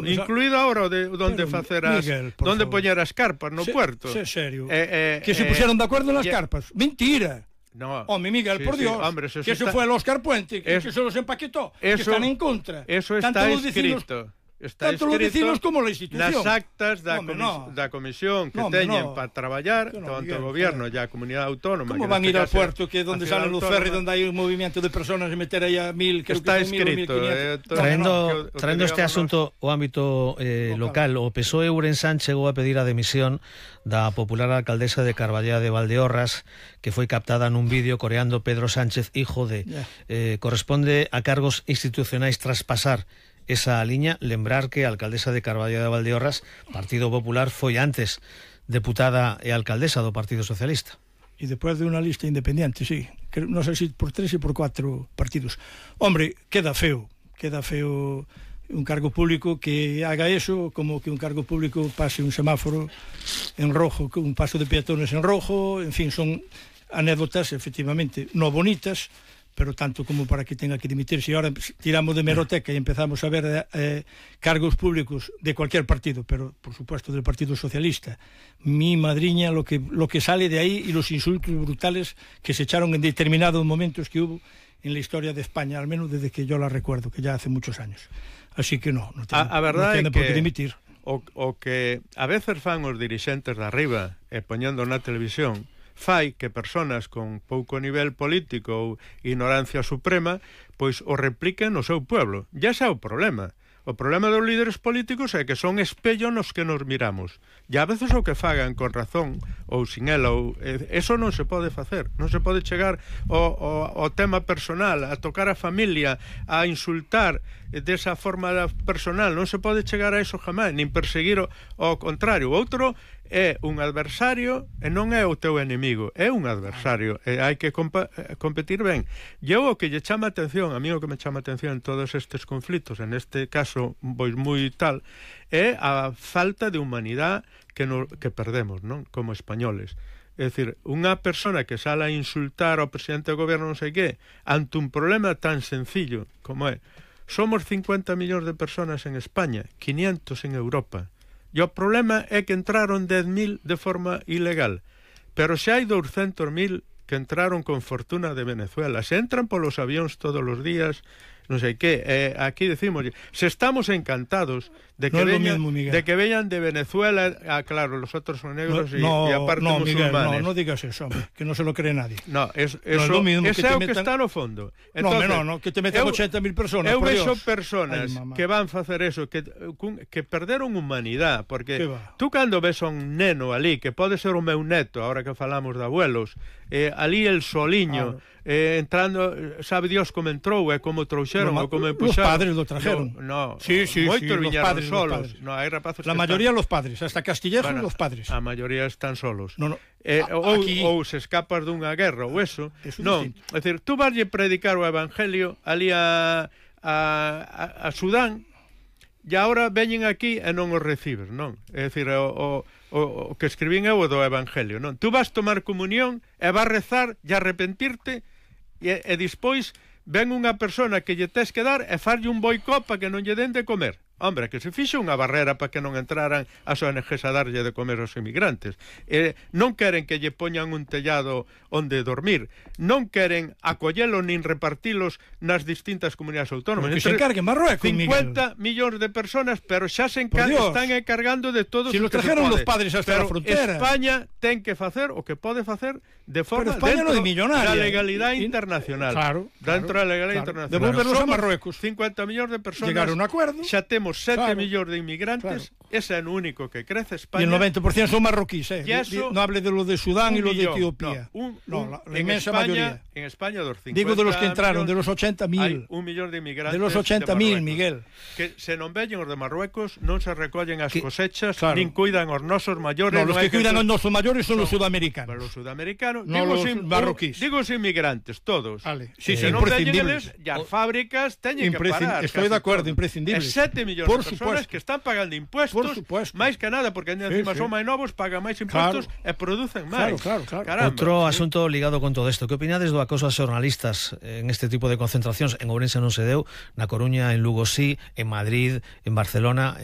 incluído ahora onde facer onde poñer as carpas no puerto. Serio. Que se puseron de acordo nas carpas. Mentira. No. Home, Miguel, por Dios, hombre, que eso fue el Óscar Puente, que se los empaquetó, que están en contra. Eso está escrito. Tanto los vecinos como la institución. Nas actas da comisión que teñen para traballar, tanto o goberno e a comunidade autónoma. Como van ir ao puerto, que onde salen los ferries, onde hai un movimiento de personas e meter aí a 1000, creo que son 1000, 1500. Traendo este asunto ao ámbito local, o PSOE Ourensán chegou a pedir a demisión da popular alcaldesa de Carballeda de Valdeorras, que foi captada nun vídeo coreando Pedro Sánchez, hijo de. Corresponde a cargos institucionais traspasar esa liña. Lembrar que a alcaldesa de Carballeda de Valdeorras, Partido Popular, foi antes deputada e alcaldesa do Partido Socialista. E despois de unha lista independiente, sí. Non sei se por 3 e por 4 partidos. Hombre, queda feo un cargo público que haga eso, como que un cargo público pase un semáforo en rojo, un paso de peatones en rojo, en fin, son anécdotas, efectivamente, no bonitas, pero tanto como para que tenga que dimitirse. E ahora tiramos de meroteca e empezamos a ver cargos públicos de cualquier partido, pero por supuesto del Partido Socialista. Mi madriña, lo que sale de ahí y los insultos brutales que se echaron en determinados momentos que hubo en la historia de España, al menos desde que yo la recuerdo, que ya hace muchos años. Así que no tiene por qué dimitir. O que a veces fan os dirixentes de arriba e poñendo na televisión fai que personas con pouco nivel político ou ignorancia suprema pois o repliquen no seu pueblo. Ya xa é o problema. O problema dos líderes políticos é que son espello nos que nos miramos. E a veces o que fagan con razón ou sin ela, eso non se pode facer. Non se pode chegar ao tema personal, a tocar a familia, a insultar desa forma personal. Non se pode chegar a eso jamás, nin perseguir o contrario. O outro é un adversario e non é o teu enemigo, é un adversario e hai que competir ben. E o que lle chama atención, a mí o que me chama atención en todos estes conflitos, en este caso pois moi tal, é a falta de humanidade que perdemos, non? Como españoles. É dicir, unha persona que sale a insultar ao presidente do goberno non sei que, ante un problema tan sencillo como é, somos 50 millóns de personas en España, 500 en Europa. E o problema é que entraron 10.000 de forma ilegal, pero se hai 200.000 que entraron con fortuna de Venezuela, se entran polos avións todos os días, non sei que, aquí decimos, se estamos encantados de que veñan de Venezuela, claro, los otros son negros y aparte musulmanes. No digas eso, hombre, que no se lo cree nadie. No, eso é o que está no fondo. Entonces, no, que te metan 80.000 personas, por Dios. Eu vexo personas que van facer eso, que perderon humanidade, porque tú cando ves a un neno ali, que pode ser o meu neto, ahora que falamos de abuelos, ali el soliño, entrando, sabe Dios como entrou e como trouxeron ou como empuxaron. Los padres lo trajeron. Moitos viñeron solos. La mayoría los padres, hasta Castillejo los padres. A mayoría están solos. Ou se escapas dunha guerra ou eso. Non, é dicir, tú vaslle predicar o evangelio ali a Sudán e agora veñen aquí e non os recibes, non? É dicir, o que escribín eu do evangelio, non? Tú vas tomar comunión e vas rezar e arrepentirte e despois ven unha persona que lle tes que dar e farlle un boicot para que non lle den de comer. Hombre, que se fixe unha barrera para que non entraran as ONGs a darlle de comer aos inmigrantes. Non queren que lle poñan un tellado onde dormir. Non queren acollelo nin repartilos nas distintas comunidades autónomas. Que se encargue Marruecos, 50 millóns de personas, pero xa se están encargando de todos os que se pode. Si lo trajeron los padres hasta la frontera. España ten que facer o que pode facer de forma dentro da legalidade internacional. Claro. Dentro da legalidade internacional. Devolverlos a Marruecos. 50 millóns de personas. Llegaron a un acuerdo. Xa temos 7 millóns de inmigrantes, ese é o único que crece España. Y el 90% son marroquíes, no hable de lo de Sudán y lo de Etiopía. La inmensa mayoría. En España, dos 50 digo de los que entraron, de los 80.000. Hay 1 millón de inmigrantes. De los 80.000, Miguel. Que se non veñen os de Marruecos, non se recollen as cosechas, nin cuidan os nosos maiores. No, los que cuidan os nosos maiores son los sudamericanos. Los sudamericanos, no los marroquíes. Digo os inmigrantes, todos. Vale. Si se non veñen eles, e as fábricas teñen que parar. Estoy de acuerdo, imprescindible. 7 millóns de personas que están pagando impuestos, máis que nada, porque encima son máis novos, pagan máis impuestos e producen máis. Outro asunto ligado con todo isto. Que opinades do acoso a xornalistas en este tipo de concentracións? En Ourense non se deu, na Coruña, en Lugo sí, en Madrid, en Barcelona,